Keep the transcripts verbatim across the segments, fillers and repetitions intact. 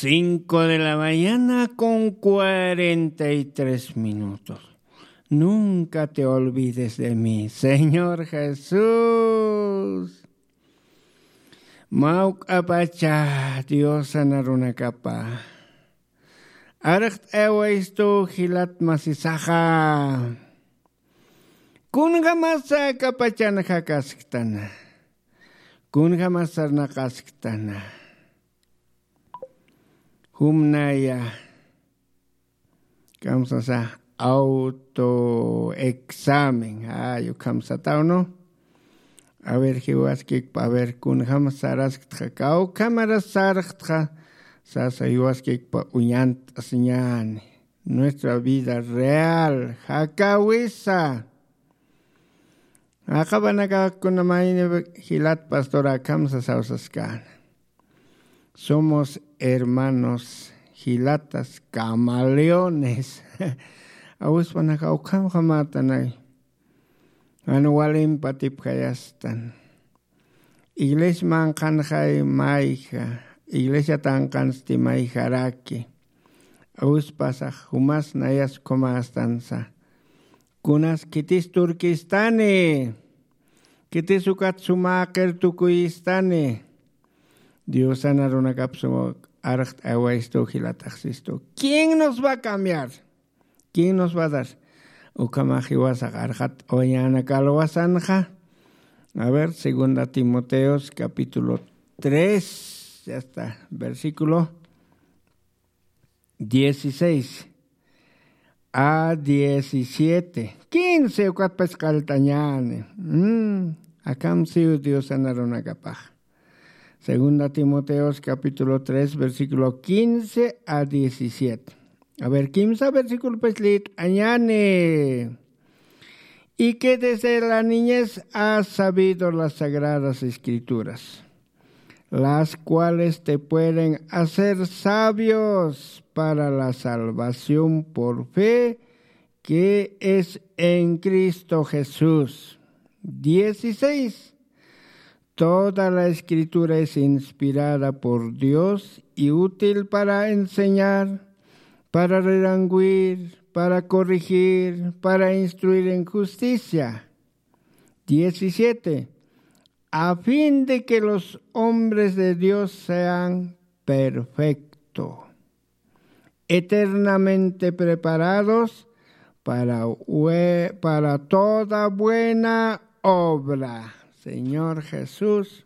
Cinco de la mañana con cuarenta y tres minutos. Nunca te olvides de mí, Señor Jesús. Mawk'apacha Diosana runakapa. Arxt'awaystu jilat masisaxa. Kunjamasa kapachan jakasktana. Kunjamasa sarnaqasktana. Jumnaya. Kamsasa autoexamen. Ay, ukham satawno. A ver, jiwaskikpa, a ver, kunjam sarasktxa, kawkhamaras sarxtxa, sasa jiwaskikpa uñant'asiñani. Nuestra vida real, jakawisa. Jaqapanakakunamayni jilat pastora kamsa sawsaskana. Somos hermanos jilatas camaleones. Awispanaka ukham jamatanay. Jan walimpa tipjayastan. Iglesia manqhanxay mayja. Iglesia tanqansti mayjaraki. Awispasax jumas nayas ukhamastansa. Kunas khitis turkistani. Khitis ukat sumaqir tukuyistani. Diosana runakap suma arxt'awaystu jilataxsistu. ¿Quién nos va a cambiar? ¿Quién nos va a dar? Ukhamax jiwasax arxat'awañäna kalwasanxa. A ver, segunda Timoteos capítulo tres, ya está, versículo dieciséis a diecisiete. Quince ukatpach qalltañäni. Mm, akham siw Diosana runakapax. Segunda Timoteos capítulo tres, versículo quince a diecisiete. A ver, kimsa versículo pues leet añane. Y que desde la niñez has sabido las sagradas escrituras, las cuales te pueden hacer sabios para la salvación por fe que es en Cristo Jesús. Dieciséis. Toda la escritura es inspirada por Dios y útil para enseñar, para redargüir, para corregir, para instruir en justicia. Diecisiete. A fin de que los hombres de Dios sean perfectos, eternamente preparados para, hue- para toda buena obra. Señor Jesús.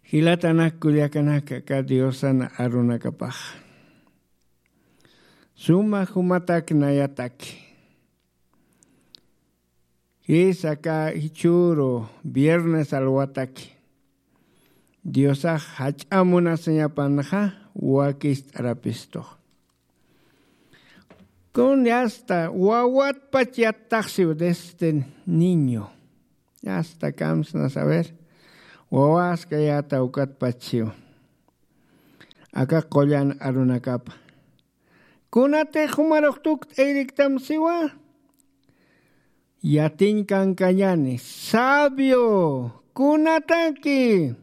Jilatanak kullakanaka aka Diosana arunakapax. Suma jumatak nayataki. Jisa aka jichhüru viernes alwataki. Diosax jach'a munasiñapanxa wakist'arapistux. Kun hasta wawatpach yattaxsiw desde niño. Hasta kamsna saber. Wawaskayäta ukatpachsiw. Aka qullan arunakapa. Kunatix jumarux tukt'ayriktam siwa. Yatiñ kankañäni, sabio, kunataki,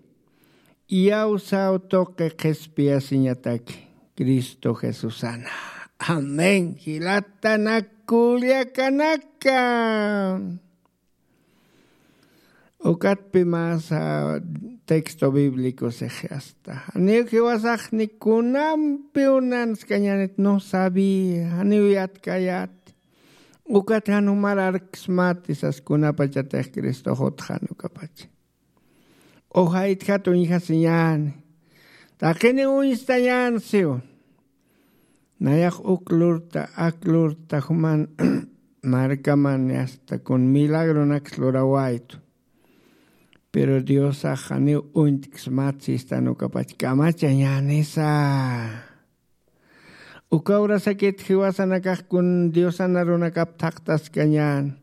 iyawsaw tuqi qhispiyasiñataki, Cristo Jesusana. Amén. Jilatanak kullakanaka. Ukatpi masa texto bíblico sixi asta. Janiw jiwasax ni kunampiw nanskañänit, no sabía, janiw yatkayät. Ukat jan jumar arksmati sas kunapachatix Cristox utxan ukapacha. Uxaytjat uñjasiñäni. Taqini uñstañän siw. Nayax uk lurta, ak lurta juman markaman asta kun milagronaks lurawaytu. Pero Diosax janiw uñt'ksmat sistan ukapach kamachañänisa. Uka urasakit jiwasanakax kun Diosana runakap thaqtaskañän.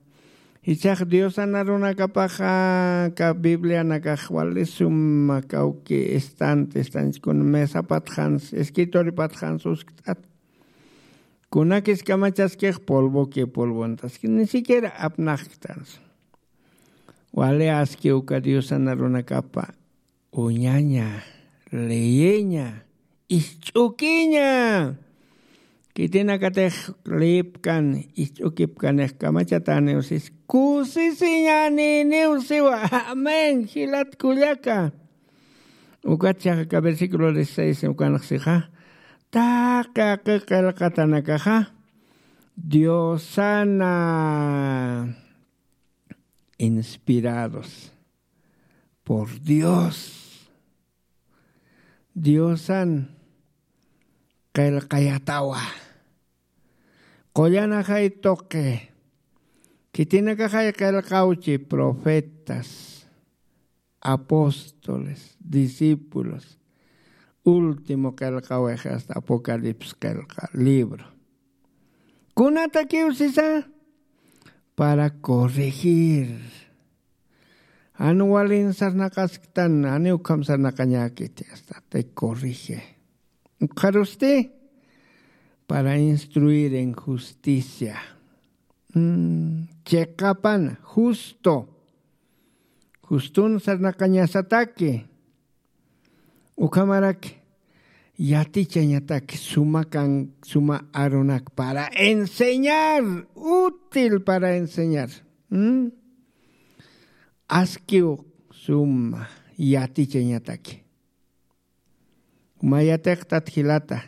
Jichhax Diosana runakapaxa aka Biblianakax wali suma kawki estante estanchi kun mesapatxans, escritoripatxans uskt'at. Kunakis kamachaskix polvoki polvontaski, ni siquiera apnaxktans. Wali aski uka Diosana runakapa uñaña Leyeña, isch'ukiña. Khitinakatix lipkan, isch'ukipkanix kamachataniw sis kusisiñaniniw siwa. Amén. Jilat kullaka, ukat chaqa ka versículo dieciséis ukanxsixa, taqi aqi qillqatanakaxa diosana, inspirados por Dios. Diosan qillqayatawa. Qullanaxay tuqi, khitinakaxay qillqawchi profetas, apóstoles, discípulos, último qillqawix hasta Apocalipsis qillqa libro. Kunatakiw sisa, para corregir. Jan walin sarnaqasktan, janiw ukham sarnaqañäkiti, hasta te corrige. Ukxarusti, para instruir en justicia. Mm, chiqapan, justo. Justun sarnaqañasataki. Ukhamarak yatichañatak suma kan, suma arunak para enseñar, útil para enseñar. ¿Mm? Askiw suma yatichañataki. Juma yatiqtat jilata.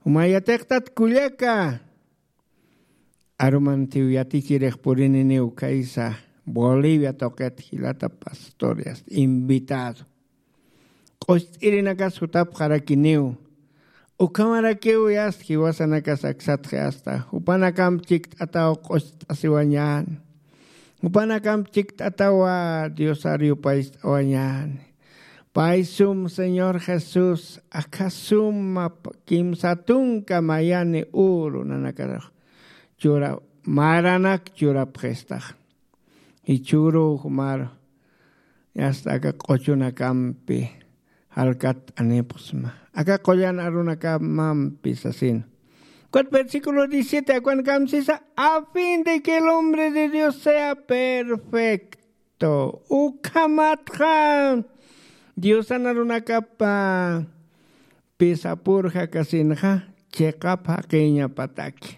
Juma yatiqtat kullaka. Arumantiw yatichirix purininiw kaysa Bolivia tuqit jilata pastorias invitado. Q'ust'irinakas jutapxarakiniw. Ukhamarakiw yast jiwasanakas aksatxi asta. Jupanakamp chikt'ataw q'ust'asiwañäni. Jupanakamp chikt'atawa Diosar yupayt'awañäni. Pay sum Señor Jesús, aka suma p-, kimsa tunka mayani uru nanakarax chura, maranak churapxistax. Jichhüruw jumar, hasta aka q'uchunakampi jalkatt'anipxsma. Aka qullan arunakamampi sasin. Ukat versículo diecisiete, akanakam sisa, a fin de que el hombre de Dios sea perfecto. Ukhamatxa Diosan arunakapa pisa purjakasinxa chiqap jaqiñapataki.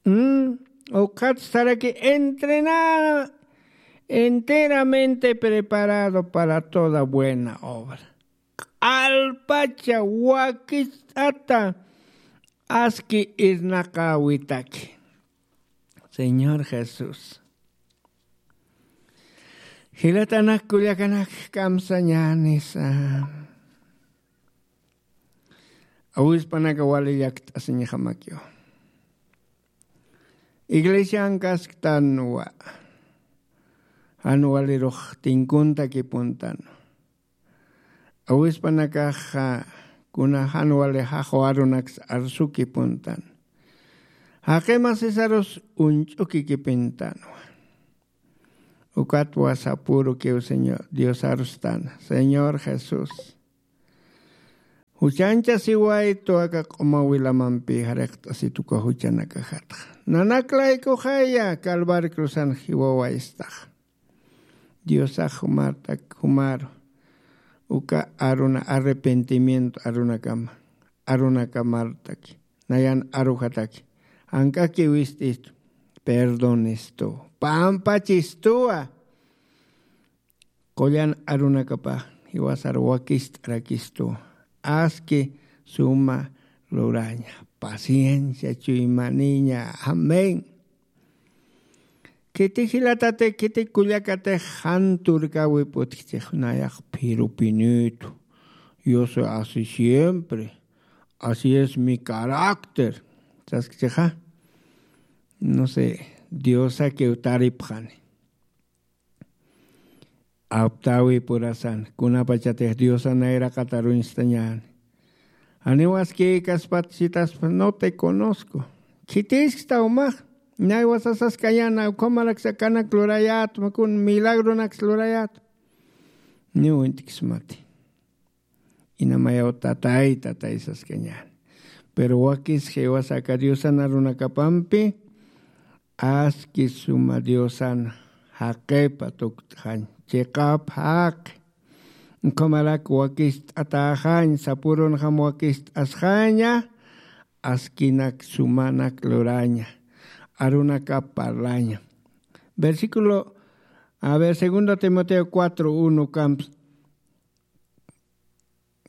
Mm, ukhat saraki entrena-, enteramente preparado para toda buena obra. Q'alpacha wakicht'ata aski irnaqäwitaki. Señor Jesús. Jilatanak kullakanak kamsañänisa. Awispanaka wali llakt'asiñjamakiw. Iglesian kasktanwa. Jan walirux tinkuntakipuntan. Awispanakaxa kuna jan wali jaqu arunaks arsukipuntan. Jaqi masisarus uñch'ukikipintanwa. Ukatwa sapürukiw Señor, Diosarustan, Señor Jesús. Juchanchasiwaytu aka q'uma wilamampi jariqt'asitu uka juchanakajatxa. Nanak laykuxaya Calvario cruzan jiwawaystaxa. Diosax jumartak, jumaru. Uka aruna arrepentimiento arunakama, arunakamartaki. Nayan arujataki. Jank'aki wist'istu. Perdonistu. Pampachistuwa. Qullan arunakapa jiwasar wakist'arakistu. Aski suma luraña. Paciencia chuymaniña. Amén. Khiti jilatati, khiti kullakatix jan turkäwip utjchix nayax phirupinitu. Yo soy así siempre. Así es mi carácter. Saskchixa. No sé, Diosakiw taripxani. Aptäwipurasan, kunapachatix Diosan nayraqat aruñstañäni. Janiw askïkaspat sitaspa, no te conozco. Khitisksta umax, naywa sasaskañäni, ukhamaraksa kanak lurayätma, kun milagronaks lurayätma. Niw uñt'ksmati. Inamayaw tatay, tatay saskañäni. Pero wakis jiwasa aka Diosan arunakapampi, aski suma Diosan jaqipa tukt'xañ, chiqap jaqi. Ukhamarak wakist'atäxañ, sapürunxam wakist'asxaña, askinak sumanak luraña, arunakap parlaña. Versículo, a ver, segundo Timoteo cuatro uno, camps.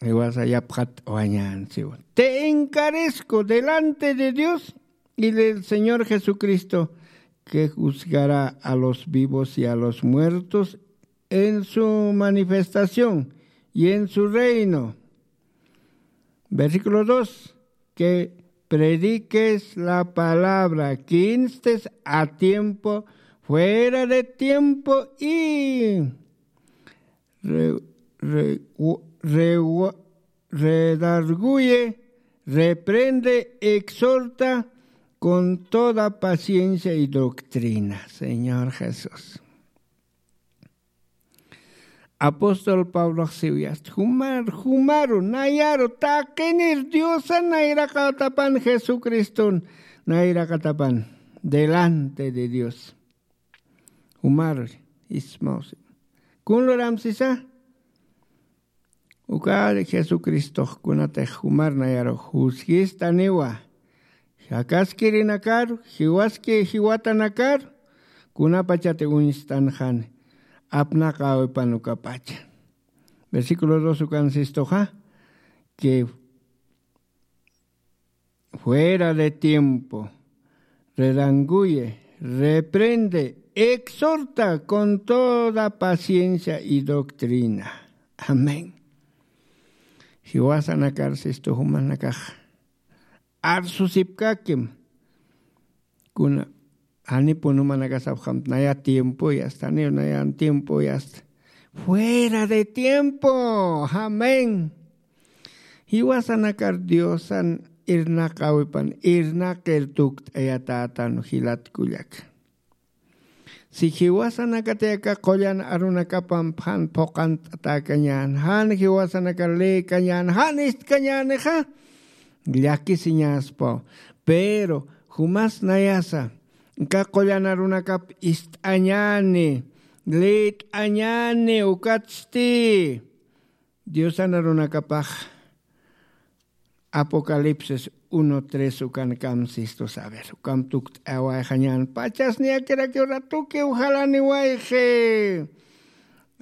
Jiwasa yapxat wañan siwa. Te encarezco delante de Dios y del Señor Jesucristo, que juzgará a los vivos y a los muertos en su manifestación y en su reino. Versículo dos, que prediques la palabra, que instes a tiempo, fuera de tiempo y re- re- u- re- redarguye, reprende, exhorta con toda paciencia y doctrina. Señor Jesús. Apóstol Pablo siwiyast, jumar, jumaru, nayaru, taqinir Diosan nayraqatapan Jesucriston, nayraqatapan, delante de Dios. Jumar, ismaw sima. Kun luram sisa? Uka Jesucristox kunatix jumar nayaru juzgistaniwa. Jakaskirinakar, jiwaski jiwatanakar, kunapachati uñstanxani. Apnaqäwipan ukapacha. Versículo dos ukan sistuxa, que fuera de tiempo, redarguye, reprende, exhorta con toda paciencia y doctrina. Amén. Jiwasanakar sistu jumanakax arsusipkakim. Kuna janipun jumanakasapxam naya tiempoyasta, janiw nayan tiempoyasta. Fuera de tiempo. Amén. Jiwasanakar Diosan irnaqäwipan, irnaqir tukt'ayatätan jilat kullaka. Si jiwasanakatix aka qullan arunakapamp jan phuqant'atäkañän, jan jiwasanakar lïkañän, jan istkañänixa, llakisiñäspaw. Pero jumas nayasa aka qullan arunakap ist'añäni, lït'añäni, ukatsti Diosan arunakapax Apocalipsis uno tres ukan kamsistus, a ver, ukam tukt'awayxañän, pachas niyakirakiw ratukiw jalaniwayxi.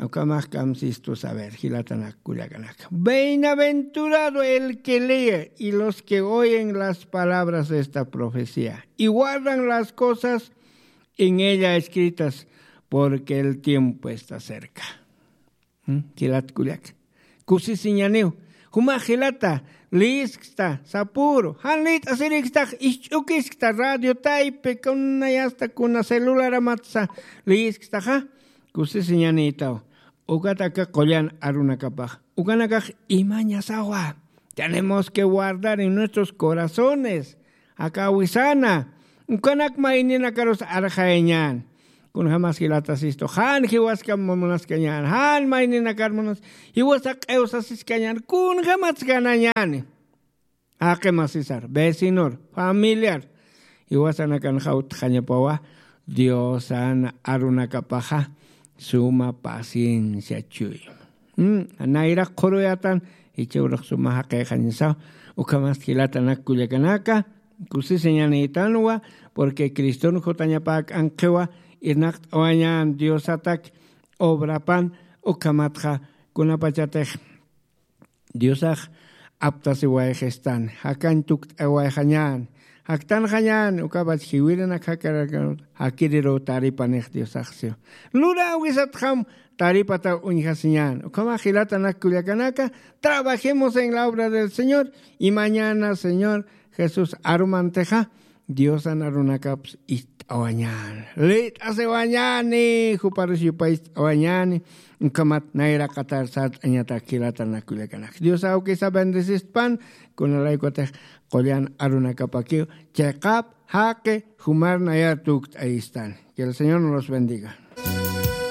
Ukamax kamsistus, a ver, jilatanak kullakanaka. Bienaventurado el que lee y los que oyen las palabras de esta profecía y guardan las cosas en ella escritas, porque el tiempo está cerca. ¿Mm? Jilat kullaka. Kusisiñaniw. Juma jilata, lisksta, sapüru, jan lït'asirikstax, isch'ukiskta, radio taypi, kuna yasta, kuna celularamatsa, liskstaxa, kusisiñanïtaw. Ukat aka qullan arunakapax. Ukanakax imañasawa. Tenemos que guardar en nuestros corazones. Aka wisana. Ukanak mayninakarus arxayañän. Kunjamas jilatasistu, jan jiwaskam munaskañän, jan mayninakar munas, jiwasa q'iwsasiskañän, kunjamas ganañäni. Jaqi masisar, vecinor, familiar, jiwasanakanxa utjañapawa, Diosan arunakapaxa suma paciencia chuy. Mm, nayrax qhuruyatan, jichhürux suma jaqïxañasaw, ukhamasti jilatanak kullakanaka, kusisiñanïtanwa, porque Criston jutañapäk'ankxiwa, irnaqt'awañän Diosatak obrapan, ukhamatxa kunapachatix Diosax aptasiwayxistan, jakañ tukt'awayxañän, jaktanxañän, ukapach jiwirinak jakarakan, jakiriruw taripanix Diosax siw. Luräwisatxam taripataw uñjasiñän. Ukhamax jilatanak kullakanaka, trabajemos en la obra del Señor, y mañana Señor Jesús arumantixa, Diosan arunakaps ist'awañäni. Lït'asiwañäni, juparus yupay ist'awañäni, ukhamat nayraqatar sart'añatak jilatanak kullakanaka. Dios awkisa bendecistpan, kunalaykutix qullan arunakapakiw, chiqap, jaqi, jumar nayar tukt'ayistan. Que el Señor nos los bendiga.